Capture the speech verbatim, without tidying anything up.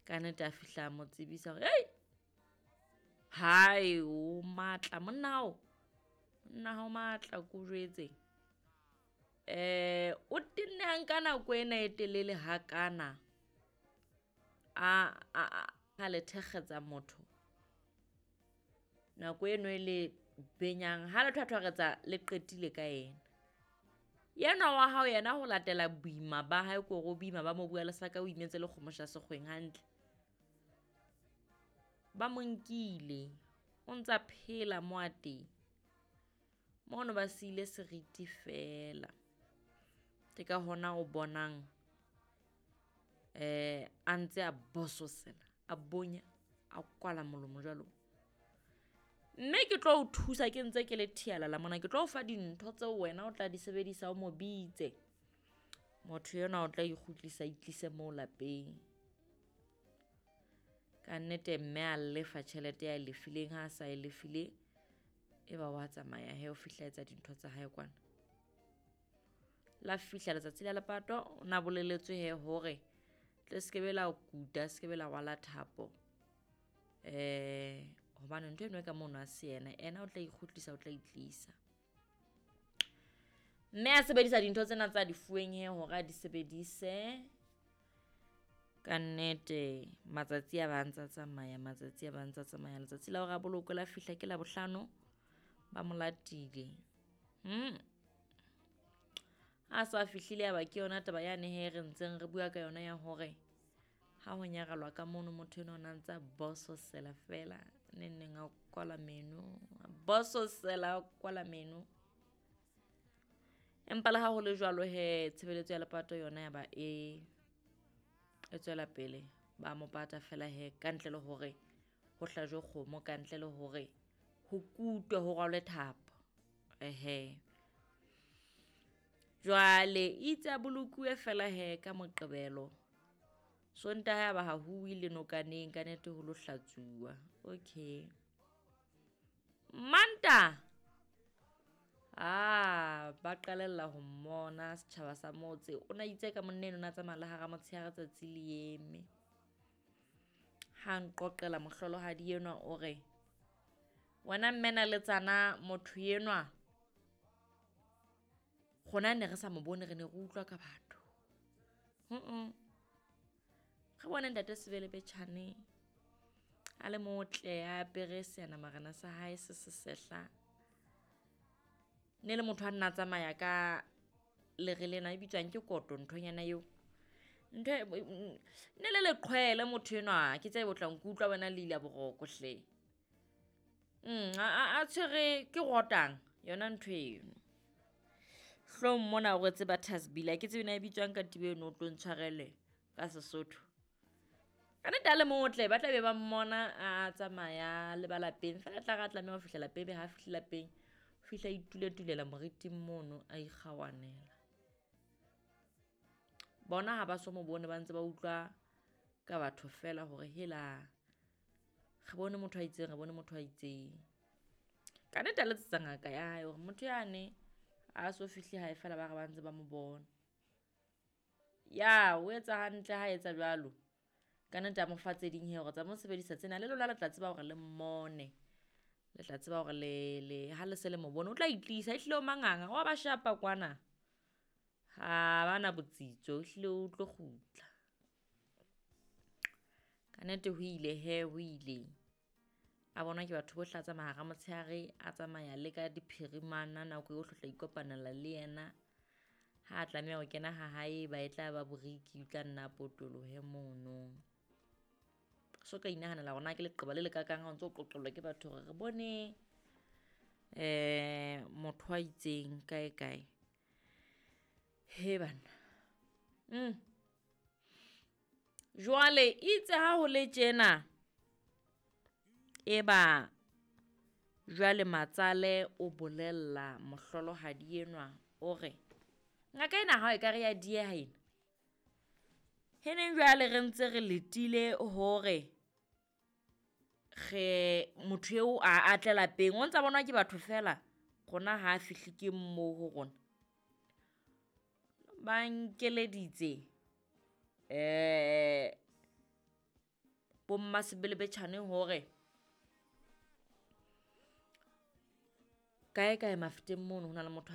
Ka nnete a fihla a mo tsebisa hore hei, hae o matla monna hao, monna hao matla ke o jwetse. Eh, o tenne a nka nako ena e telele hakana a a a le thekgetsa motho. Nako eno e le benyang ha le thwathwaretsa le qetile ka yena. Yenwa wa hao yena ho latela boima ba hae ke hore o boima ba mobu wa lesaka o imetse le kgomo sha sekgweng hantle. Ba mo nkile, o ntsa phela mo a teng. Mono ba siile seriti feela. Ke ka hona o bonang eh a ntse a bososela, a bonya, a kwala molomo jwalo. Mme ke tlo o thusa ke ntse ke le thialala mona, ke tlo o fa dintho tseo wena o tla di sebedisa o mo bitse. Motho enwa o tla ikgutlisa a itlise moo lapeng. Ka nnete mme a lefa tjhelete ya lefileng, ha a sa e lefile e ba wa tsamaya hee o fihla etsa dintho tsa hae kwana. La fihla letsatsi la lepato, o na boleletswe hee hore tle se ke be la kuta, se ke be la rwala thapo. Eh, hobane ntho eno e ka mono ha se yena, ena o tla ikgutlisa, o tla itlisa. Mme a sebedisa dintho tsena tsa di fuweng hee hore a di sebedise. Ka nnete matsatsi a ba ntsa tsamaya, matsatsi a ba ntsa tsamaya. Letsatsi la hore a bolokwe la fihla ke Labohlano, ba mo latile. Hmm. Ha sa fihlile ya ba ke yona taba yane hee re ntseng re bua ka yona ya hore ha ho nyarelwa ka mono motho enwa o na ntsa bososela fela, neng neng a kwala meno, a bososela a kwala meno. Empa le ha ho le jwalo hee tshebeletso ya lepato yona ya ba e e tswela pele. Ba mo pata fela hee ka ntle le hore ho hlajwe kgomo, ka ntle le hore ho kutwe ho rwalwe thapo. Ehe. Jwale itse a bolokuwe fela hee ka Moqebelo. Sontaha ya ba ha huwe le nokaneng ka nnete ho lo hlatsuwa. Okay. Mantaha, ah, ba qalella ho mmona setjhaba sa motse. O na itse ka monna eno o na tsamaya le hara motshehare tsatsi le eme. Ha nqoqela mohlolohadi enwa o re, wena mme Naletsana motho enwa rona ne re sa mo bone, re ne re utlwa ka batho. Mm. Re bone ntate Sebelebetjhane a le motle, a apere seanamarena sa hae se se sehla. Ne le motho a nna tsamaya ka lere lena e bitswang ke koto nthonyana eo. Ntho ne le leqhwele motho enwa, ke tsebe o tla nkutlwa wena le ila boroko hle. Mm, a a tshwere ke rotang yona ntho eno. Hloohong mona o rwetse butters bill, ke tsebe na e bitswang katiba eno o tlo ntshwarele ka Sesotho. Ka nnete a le motle, ba tla be ba mmona a tsamaya le ba lapeng. Feela tla re a tlameha ho fihla lapeng, be ha fihle lapeng, o fihla a ituletulela moriting mono a ikgawanela. Bona ha ba so mo bone ba ntse ba utlwa ka batho fela hore hela re bone motho a itseng, re bone motho a itseng. Ka nnete a letsetsa ngaka ya hae hore motho yane a so fihle hae fela ba re ba ntse ba mo bona. Ya, o etsa hantle ha etsa jwalo. Ka nnete a mo fa tse ding hee hore tsamaya o sebedisa tsena le lona le tla tseba hore le mmone. Le tla tseba hore le le ha le se le mo bone o tla itlisa, ehlile o manganga, wa ba shapa kwana. Ha bana botsitso, ehlile o tlo kgutla. Ka nnete ho ile hee, ho ile. A bonwa ke batho bohle a tsamaya hara motshehare, a tsamaya le ka diphirimana nako yohle o tla ikopanela le yena. Ha a tlameha ho kena ha hae ba e tla ba boriki, o tla nna a potolohe mono. So ka inahanela hore na ke leqeba le lekakang ha o ntso qoqelwa ke batho hore re bone eh motho a itseng kae kae. He banna. Mm. Jwale itse ha ho le tjena eba jwale matsale o bolella mohlolohadi enwa o re ngaka ena ha e ka re ya dieha ena. Heneng jwale re ntse re letile hore re motho eo a atle lapeng, o ntsa bonwa ke batho fela, rona ha fihle ke moo ho rona. Ba nkeleditse eh Bo mmasebelebetjhane hore kae kae Mafeteng mono ho na le motho a